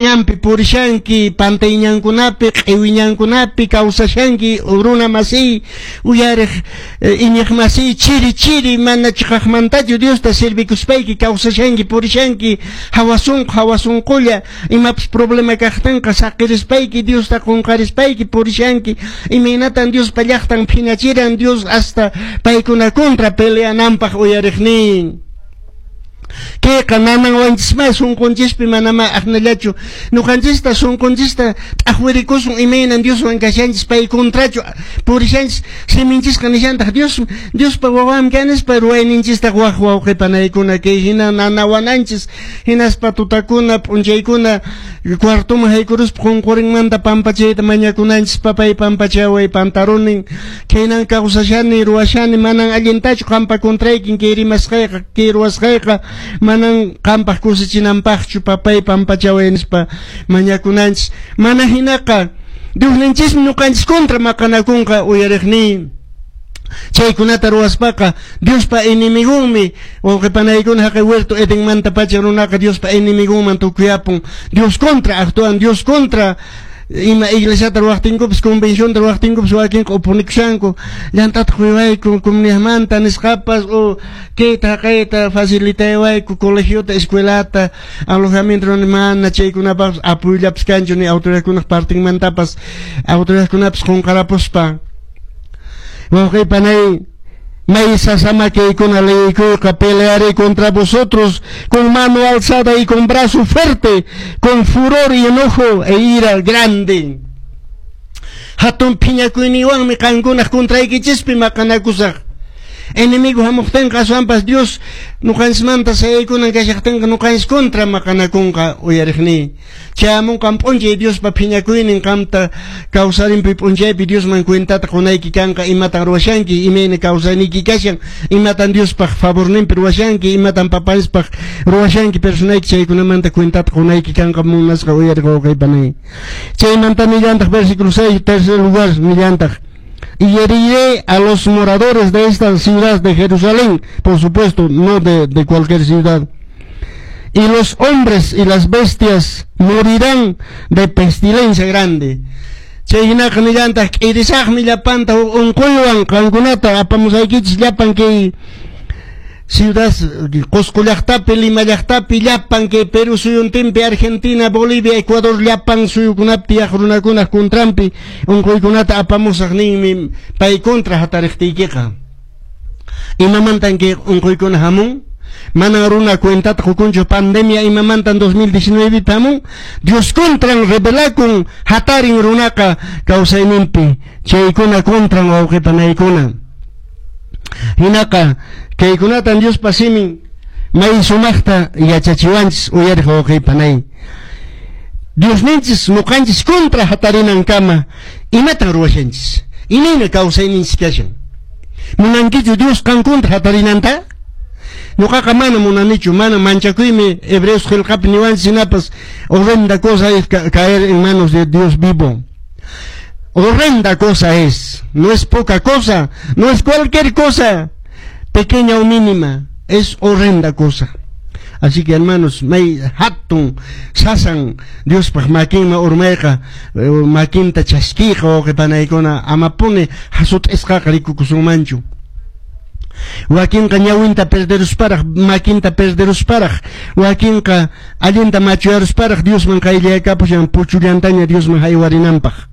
Ñanpi purishanki, pantay ñankunapi, q'iwi ñankunapi kawsashanki, runa masiy, uyariq iñiq masiy, chiri chiri mana chiqaqmantachu Diosta servikuspayki kawsashanki, purishanki, hawa sunqu, hawa sunqulla, imapas problema kaqtinqa saqirispayki, Diosta qunqarispayki purishanki, imaynatan Diospa llaqtan phiñachiran Dios hasta paykuna contra peleananpaq uyariqnin. Kayqa nananwanchismá sunqunchispi manamá aqnallachu ñuqanchista sunqunchista t'aqwirikusun imaynan Dioswan kashanchis pay contrachu purishanchis siminchisqa nishantaq Dios Diospa wawanmi kanispa ruwayninchistaq waq wawqi panaykuna kay hina nanawananchis hinaspa tutakuna p'unchaykuna cuartoman haykuruspa qunqurinmanta pampachayta mañakunanchis papay pampachaway pantarunin khaynan kawsashani ruwashani manan allintachu qampa contraykin kay rimasqayqa kay ruwasqayqa manan qampaq kusichinanpaqchu papay pampachaway nispa mañakunanchis mana hinaqa Diosninchismi ñuqanchis contra maqanakunqa uyariqniy chaykunata ruwaspaqa Diospa enemigonmi wawqi panaykuna haqay huerto Edenmanta pacha runaqa Diospa enemigonman tukuyapun Dios contra actúan Dios contra ima iglesiata ruwaqtinkupas convencionta ruwaqtinkupas wakinqa oponikushanku llant'ata quywayku comunidadmanta nisqapas o kayta haqayta facilitaywayku colegiota escuelata alojamiento mana chaykunapaqpas apoyollapas kanchu ni autoridadkunaq partinmantapas autoridadkunapas qunqarapuspa wawqi panay may sasama kaykuna leykuyqa pelearé contra vosotros con mano alzada y con brazo fuerte, con furor y enojo e ira grande. Hatun phiñakuyniwanmi qankunaq contraykichispi maqanakusaq. Enemigo hamuqtinqa aswanpas Dios ñuqanchismanta sayaykunan kashaqtinqa ñuqanchis contra maqanakunqa uyariqniy. Chayamunqan p'unchay Diospa phiñakuynin qamta kawsarinpi p'unchaypi Diosman cuentata qunayki kanqa imatan ruwashanki imayna kawsayniyki kashan imatan Diospaq favorninpi ruwashanki imatan papanchispaq ruwashanki personayki chaykunamanta cuentata qunayki kanqa munasqa uyariq wawqi panay. Chaymanta nillantaq versículo 6 tercer lugar nillantaq y heriré a los moradores de esta ciudad de Jerusalén, por supuesto, no de cualquier ciudad. Y los hombres y las bestias morirán de pestilencia grande. Chay hinaqa nillantaq k'irisaqmi llapanta huk unquywan qankunata apamusaykichis llapan kay ciudad Cusco llaqtapi, Lima llaqtapi, llapan kay Perú suyuntinpi, Argentina, Bolivia, Ecuador llapan suyukunapi tiyaq runakunaq contranpi unquykunata apamusaq ninmi pay contra hatariqtiykiqa. Imamantan kay unquykuna hamun? Manan runa cuentata qukunchu pandemia imamantan 2019 hamun? Dios contran rebelakun hatarin runaqa kawsayninpi chaykuna contran wawqi panaykuna. Hinaqa kaykunatan Diospa simin may sumaqta yachachiwanchis uyariq wawqi panay. Diosninchis ñuqanchis contra hatarinankama imatan ruwashanchis? Imayna kawsayninchis kashan? Munankichu Dios qan contra hatarinanta? Ñuqaqa mana munanichu, mana manchakuymi Hebreos qillqapi niwanchis hinapas horrenda cosa es caer en manos de Dios vivo. Horrenda cosa es, no es poca cosa, no es cualquier cosa, pequeña o mínima, es horrenda cosa. Así que hermanos, may hatun sasan Diospaq makinman urmayqa makinta chaskiyqa wawqi panaykuna amapuni hasut'isqaqa rikukusunmanchu. Wakinqa ñawinta perderusparaq, makinta perderusparaq, wakinqa allinta machuyarusparaq Diosman qayllayakapushan puchullantaña Diosman haywarinanpaq.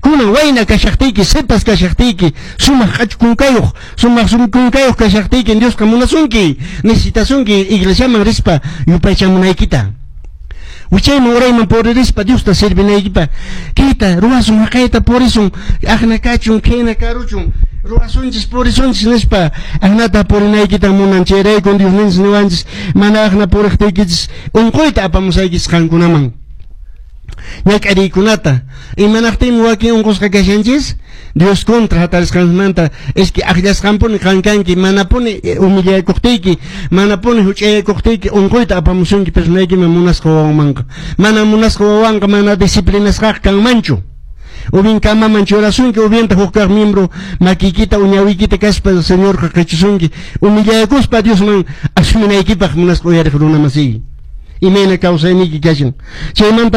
Kunan wayna kashaqtiyki, sipas kashaqtiyki, sumaq q'achu kunkayuq, sumaq kunkayuq kashaqtiyki Diosqa munasunki, necesitasunki iglesiaman rispa yupaychamunaykita. Wichayman urayman puririspa Diosta servinaykipaq. Kayta ruwasun, haqayta purisun, aqna kachun, khayna karuchun, ruwasunchis, purisunchis nispa aqnata purinaykitan munan chayraykun Diosninchis niwanchis mana aqna puriqtiykichis unquyta apamusaykichis qankunaman. Ñak'ariykunata imanaqtinmi wakin unqusqa kashanchis Dios contra hatarisqanmanta es que aqllasqanpuni qan kanki manapuni humillakuqtiyki manapuni huch'ayakuqtiyki unquyta apamusunki personaykiman munasqa wawanmanqa mana munasqa wawanqa mana disciplinasqaqa kanmanchu o bien kamaman churasunki o bientaq huk kaq miembro makiykita uñawiykita kaspa Señorqa qichusunki humillakuspa Diosman asuminaykipaq munasqa uyariq runa masiy. Imayna kawsayniyki kashan. Chaymanta